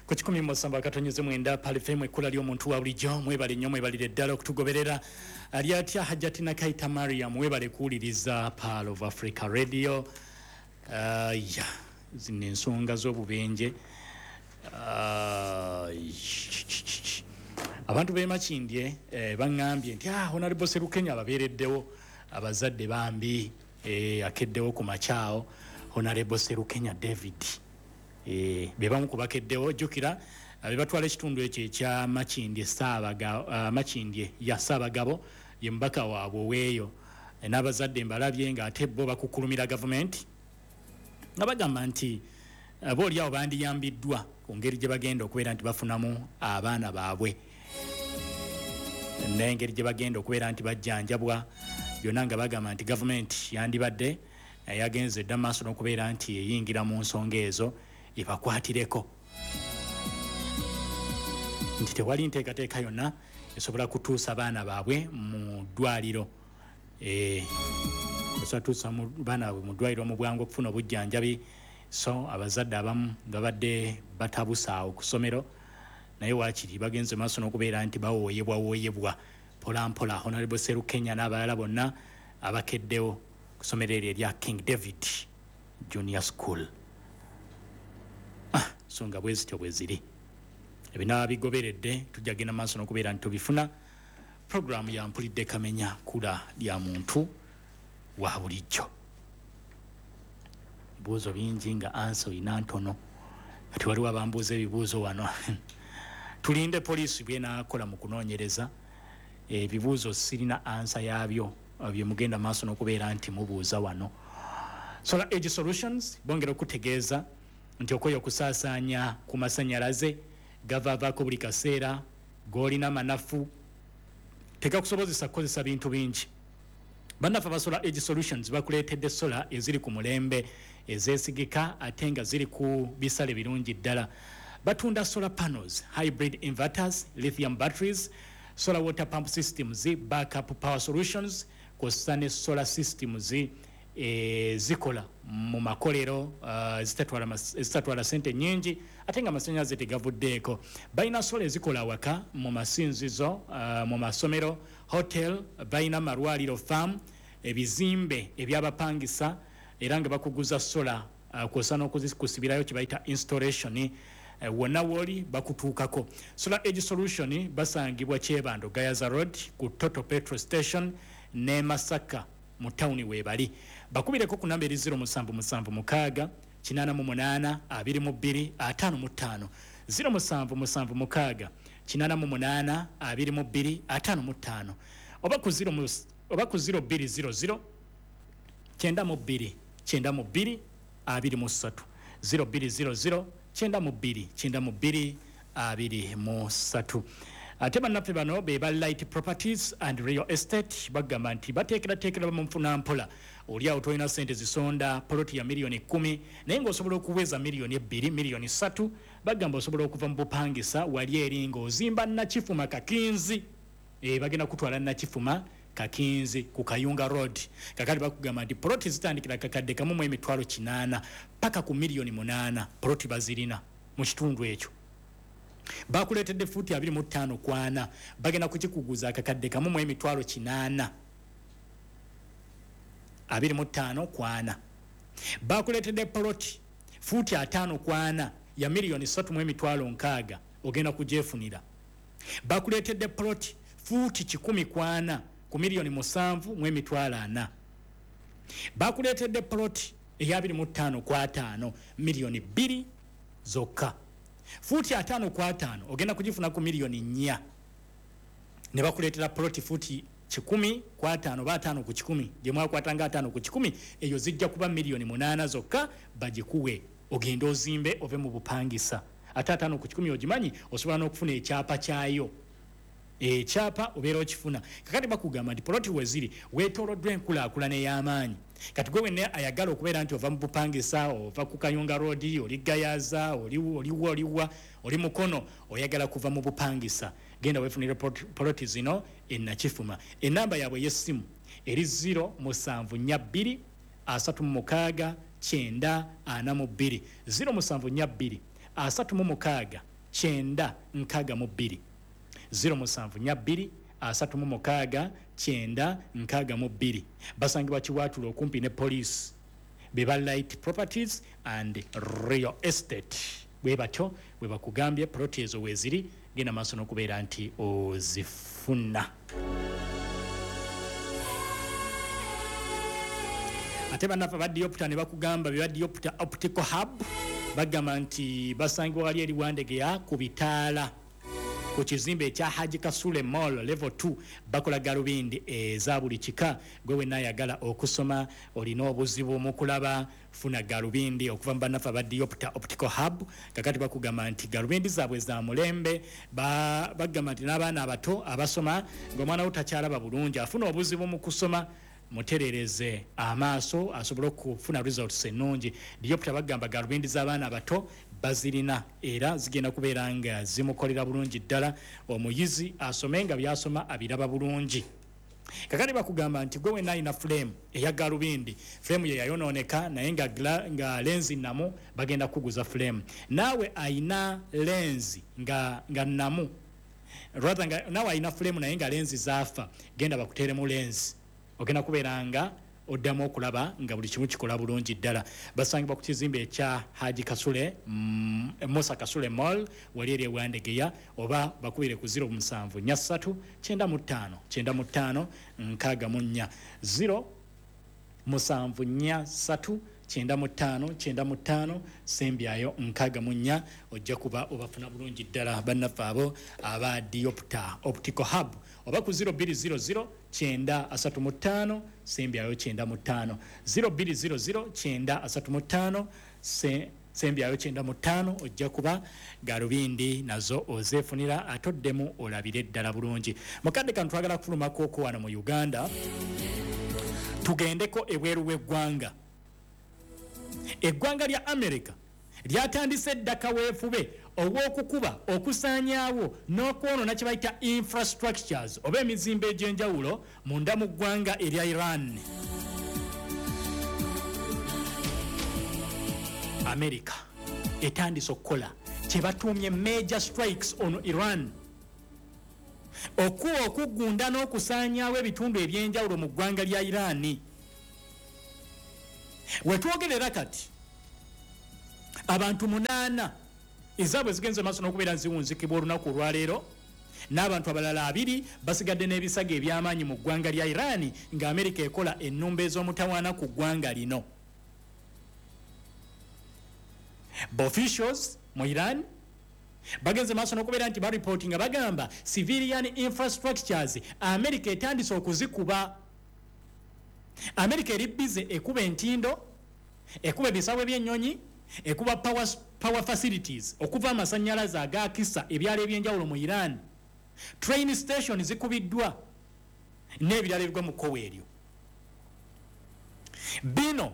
Ku 107.9 Pearl FM, ekkula ly'omuntu wa bulijjo. Mwebale nnyo, mwebalire ddala okutugoberera. Ali atya Hajjati Nakaita Mariam? Mwebale kuwuliriza Pearl of Africa Radio. Ya zino ensonga z'obubenje, abantu b'e Makindye baŋŋambye nti Honorable Serukenya ababeereddewo. Abazadde bambi, akeddewo ku makyawo. Honorable Serukenya David, be bamu ku bakeddewo. Jjukira be batwala ekitundu ekyo ekya Makindye Makindye ya Ssaabagabo, ye mubaka waabwe oweeyo. N'abazadde mbalabye ng'ate bo bakukulumira gavumenti nga bagamba nti bo oli awo bandiyambiddwa ku ngeri gye bagenda okubeera nti bafunamu abaana baabwe n'engeri gye bagenda okubeera nti bajjanjabwa byonna, nga bagamba nti gavumenti yandibadde yagenze dda maaso n'okubeera nti eyingira mu nsonga ezo, ebakwatireko, nti tewali nteekateeka yonna esobola kutuusa baana baabwe mu ddwaliro, esobola tuusa baana baabwe mu ddwaliro mu bwangu okufuna obujjanjabi. So abazadde abamu babadde batabusaawo ku ssomero, naye waakiri bagenze maaso n'okubeera nti bawooyebwawooyebwa mpolampola. Honorable Serukenya n'abalala bonna abakeddewo ku ssomero eryo erya King David Junior School. So nga bwe zityo bwe ziri, ebinaaba bigoberedde tujja genda maaso n'okubeera nti tubifuna. Puroguramu ya Mpulidde Kamenya, kula lya muntu wa bulijjo. Ebibuuzo bingi nga answer oyina ntono. Kati waliwo abambuuza ebibuuzo wano. Tulinde poliisi byenaakola mu kunoonyereza. Ebibuuzo sirina answer yaabyo bye mugenda maaso n'okubeera nti mubuuza wano. Solar Age Solutions bongera okutegeeza nti okoye okusaasaanya ku masanyalaze gavaavaako buli kaseera, g'olina manafu, tegakusobozesa kukozesa bintu bingi. Bannaffe aba Solar Age Solutions bakuleetedde solar eziri ku mulembe, ezeesigika, ate nga ziri ku bisale birungi ddala. Batunda solar panels, hybrid inverters, lithium batteries, solar water pump systems, backup power solutions, kw'ossa ne solar systems zikola mu makolero, zitatwala sente nyingi ate nga amasanyalaze tegavuddeeko. Balina solar ezikola awaka, mu masinzizo, mu masomero, hotel, balina malwaliro, farm, ebizimbe ebyabapangisa, era nga bakuguza solar, kwossa n'okuzikusibirayo kye bayita installation. Wonna wooli bakutuukako. Solar Age Solution basangibwa Kyebando, Gayaza Road, ku Total petrol station, ne Masaka mu tawuni weebali. Bakubireko ku namba eri 0776 88 22 55, 0776 88 22 55, oba ku 0200 92 92 23, 0200 92 92 23. Ate bannaffe bano be ba Light Properties and Real Estate bagamba nti bateekerateekera bamunfuna mpola. Oli awo tolina sente zisonda poloti ya miliyoni 10, naye ng'osobola okuweza miliyoni 2, miliyoni 3. Bagamba osobola okuva mu bupangisa wali eri ng'ozimba Nakifuma Kakinzi. Bagenda kutwala Nakifuma Kakinzi ku Kayunga Road. Kakati bakugamba nti poloti zitandikira 1,800,000 paka ku miliyoni 8. Poloti bazirina mu kitundu ekyo. Bakuleetedde fuuti 25 ku 40, bagenda kukikuguza 1,800,000, 25 ku 40. Bakuleetedde poloti fuuti 50 ku 40 ya miliyoni 3 mu emitwalo 60, ogenda kugyefunira. Bakuleetedde poloti fuuti 100 ku 40 ku miliyoni 7 mu emitwalo 4. Bakuleetedde poloti eya 25 ku 50, miliyoni 2 zokka. Fuuti 50 ku 50 ogenda kugifuna ku miliyoni 4. Ne bakuleetera poloti fuuti 100 ku 50 oba 50 ku 100, gye mwakwatanga 50 ku 100, eyo zijja kuba miliyoni 8 zokka. Bagikuwe ogende ozimbe ove mu bupangisa. Ate 50 ku 100 ogimanyi, osobola n'okufuna ekyapa kyayo, ekyapa obeera okifuna. Kakati bakugamba nti poloti weziri weetooloddwa enkulaakulana ey'amaanyi. Kati gwe wenna ayagala okubeera nti ova mu bupangisa, ova ku Kayunga Road, oli Gayaza, oliwa, oliwa, oli Mukono, oyagala kuva mu bupangisa, genda weefunire poloti zino enakifuma. Enamba yaabwe ey'essimu eri 0742 36 90 42, 0742 36. 962, 0742 36 962. Basangibwa Kiwatule okumpi ne poliisi. Beba Light Properties and Real Estate. Bwe batyo bwe bakugambye ploti ezo weeziri, genda maaso n'okubeera nti ozifuna. Ate bannaffe aba Diopta ne bakugamba beba Diopta Optical Hub, bagamba nti basangibwa wali eri Wandegeya ku bitaala ku kizimbe ekya Haji Kasule Mall level 2. Bakola galubindi eza buli kika. Gwe wenna ayagala okusoma, olina obuzibu mu kulaba, funa galubindi okuva mu bannaffe aba Diopta Optical Hub. Kakati bakugamba nti galubindi zaabwe za mulembe. Bagamba nti n'abaana abato abasoma, ng'omwana wo takyalaba bulungi, afuna obuzibu mu kusoma, muterereze amaaso asobole okufuna results ennungi. Diopta bagamba galubindi z'abaana abato bazirina era zigenda kubeera nga zimukolera bulungi ddala, omuyizi asome nga byasoma abiraba bulungi. Kakati bakugamba nti gwe wenna alina frame eya galubindi, frame ye yayonooneka naye nga lenzi namu, bagenda kuguza frame. Naawe ayina lenzi nga namu, rather nga naawe ayina frame naye nga lenzi zaafa, genda bakuteeremu lenzi, ogenda kubeera nga oddamu okulaba nga buli kimu kikola bulungi ddala. Basangibwa ku kizimbe ekya Haji Kasule, Musa Kasule Mall wali eri ewandegeya, oba bakubire ku 0743 95 95 64, 0743 95 95 sembyayo 64. Ojja kuba obafuna bulungi ddala bannaffe abo aba Diopta Optical Hub, oba ku 0200 935 sembyayo 95, 0200 935 sembyayo 95. Ojja kuba galubindi nazo ozeefunira atoddemu olabire ddala bulungi. Mukadde kano twagala kufulumako okwo wano mu Uganda, tugendeko ebweru w'eggwanga. Eggwanga lya America lyatandise dda kaweefube ow'okukuba, okusaanyaawo n'okwonoona kye bayita infrastructures oba emizimbo egy'enjawulo munda mu ggwanga erya Iran. America etandise okukola kye batuumye major strikes on Iran, okuba okugunda n'okusaanyaawo ebitundu eby'enjawulo mu ggwanga lya Iran. Wetwogerera kati abantu 8 ezaabwe zigenze maaso n'okubeera ziwunzikibwa olunaku olwaleero, n'abantu abalala 2 basigadde n'ebisago eby'amaanyi mu ggwanga lya Iran nga Amerika ekola ennumba ez'omutawaana ku ggwanga lino. Officials mu Iran bagenze maaso n'okubeera nti baripootinga, bagamba civilian infrastructures Amerika etandise okuzikuba. Amerika eri bize ekuba entindo, ekuba ebisawe by'ennyonyi, ekuba power facilities okuva amasannyalaze agakisa ebyalo ebyenjawulo mu Iran, train station zikubiddwa n'ebirala ebigwa mu kkowe eryo. Bino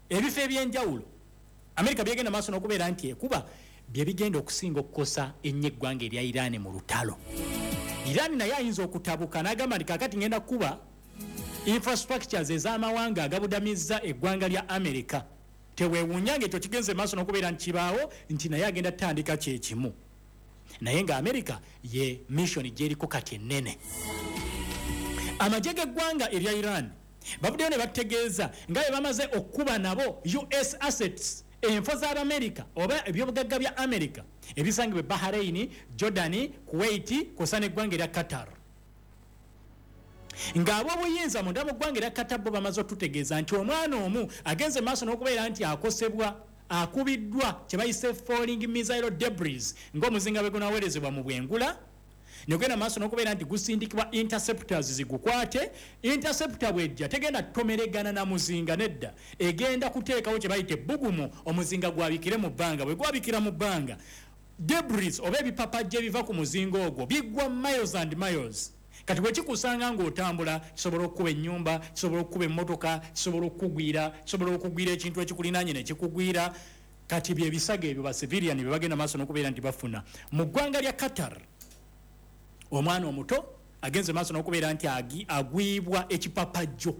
ebifo ebyenjawulo Amerika byegenda maaso n'okubeera nti ekuba bye bigenda okusinga okukosa ennyo eggwanga erya Iran mu lutalo. Iran naye ayinza okutabuka n'agamba nti kaakati ngenda kuba infrastructures ez'amawanga agabudamizza eggwanga lya Amerika. Teweewuunya ng'ekyo kigenze maaso n'okubeera nti kibaawo, nti naye agenda tutandika kyekimu, naye nga Amerika ye mission gyeriko kati ennene. Amagye g'eggwanga erya Iran bavuddeyo ne bategeeza nga bwe bamaze okukuba nabo US assets, enfo z'Abamerika oba ebyobugagga bya Amerika ebisangibwa e Bahrain, Jordan, Kuwait kw'ossa n'eggwanga erya Qatar. Ng'ab'obuyinza munda mu ggwanga erya Qatar bo bamaze otutegeeza nti omwana omu agenze maaso n'okubeera nti akosebwa, akubiddwa kye bayise falling missile debris, ng'omuzinga bwe gunaweerezebwa mu bwengula negenda maaso n'okubeera nti gusindikibwa interceptors zigukwate. Interceptor bw'ejja tegenda kutomeregana na muzinga nedda, egenda kuteekawo kye bayita ebbugumu, omuzinga gwabikire mu bbanga. Bwe gwabikira mu bbanga, debris oba ebipapajja ebiva ku muzinga ogwo biggwa miles and miles. Kati bwe kikusanga ng'otambula, kisobola okukuba ennyumba, kisobola okukuba emmotoka, kisobola okukugwira, kisobola okugwira ekintu ekikulinaanye ne kikugwira. Kati bye bisago ebyo ba civilian bye bagenda maaso n'okubeera nti bafuna. Mu ggwanga lya Qatar omwana omuto agenze maaso n'okubeera nti agwibwa ekipapajjo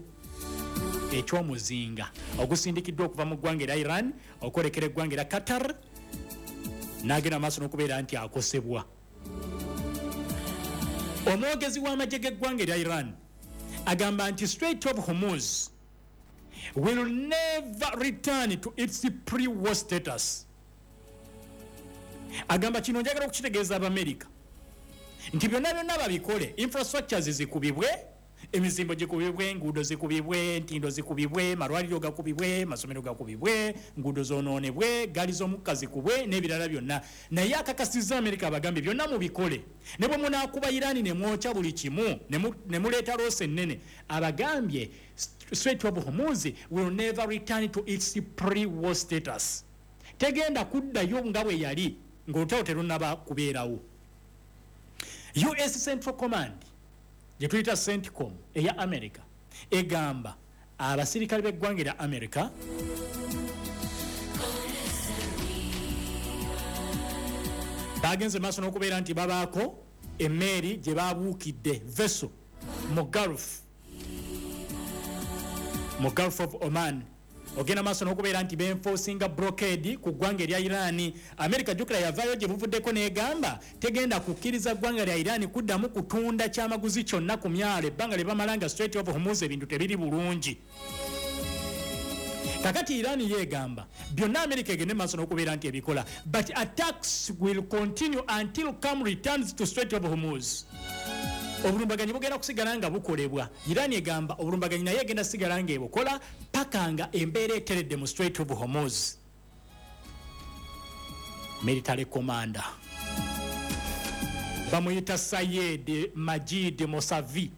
eky'omuzinga ogusindikiddwa okuva mu ggwanga erya Iran okwolekera eggwanga erya Qatar. N'agenda maaso n'okubeera nti akosebwa. Omwogezi w'amagye g'eggwanga erya Iran agamba nti Strait of Hormuz will never return to its pre-war status. Agamba kino njagala okukitegeeza Abamerika nti byonna byonna babikole, infrastructures zikubibwe, emizimbo gikubibwe, enguudo zikubibwe, entindo zikubibwe, malwaliro gakubibwe, masomero gakubibwe, nguudo zonoonebwe, gaali z'omukka zikubwe n'ebirala byonna. Naye akakasizza Amerika, abagambye byonna mubikole, ne bwe munaakuba Irani ne mwokya buli kimu ne muleeta loss ennene, abagambye Strait of Hormuz will never return to its pre-war status, tegenda kuddayo nga bwe yali ng'olutalo terunnaba kubeerawo. US Central Command gye tuyita CENTCOM eya America egamba abasirikale b'eggwanga erya America bagenze maaso n'okubeera nti babaako emmeeri gye babuukidde, vessel mu Gulf of Oman, ogenda maaso n'okubeera nti benforcinga blockade ku ggwanga erya Iran. America, jjukira, yavaayo gye buvuddeko n'egamba tegenda kukkiriza ggwanga lya Iran kuddamu kutunda kyamaguzi kyonna ku myalo ebbanga lye bamala nga Strait of Hormuz ebintu tebiri bulungi. Kakati Iran yeegamba byonna America egende maaso n'okubeera nti ebikola, but attacks will continue until calm returns to Strait of Hormuz. Obulumbaganyi bugenda kusigala nga bukolebwa. Iran egamba obulumbaganyi naye egenda sigala nga ebukola paka nga embeera eteredde mu Strait of Hormuz. Military commander bamuyita Sayed Majid Mosavi,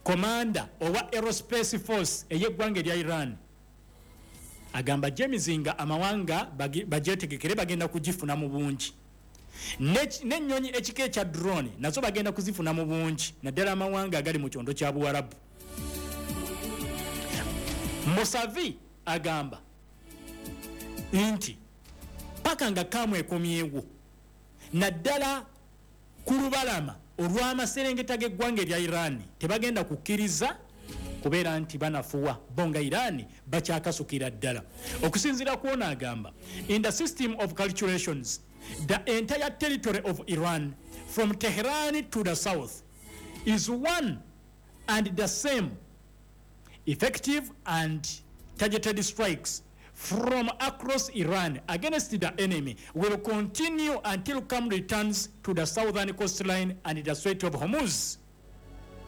commander owa Aerospace Force ey'eggwanga erya Iran, agamba gyemizinga amawanga bagyetegekere, bagenda kugifuna mu bungi. N'ennyonyi ekika ekya drone nazo bagenda kuzifuna mu bungi, naddala amawanga agali mu kyondo kya Buwarabu. Musavi agamba nti paka nga calm ekomyewo naddala ku lubalama olw'amaserengeta g'eggwanga erya Iran, tebagenda kukkiriza kubeera nti banafuwa bo nga Iran bakyakasukira ddala. Okusinziira kwona agamba, in the system of calculations, the entire territory of Iran from Tehran to the south is one and the same. Effective and targeted strikes from across Iran against the enemy will continue until calm returns to the southern coastline and the Strait of Hormuz.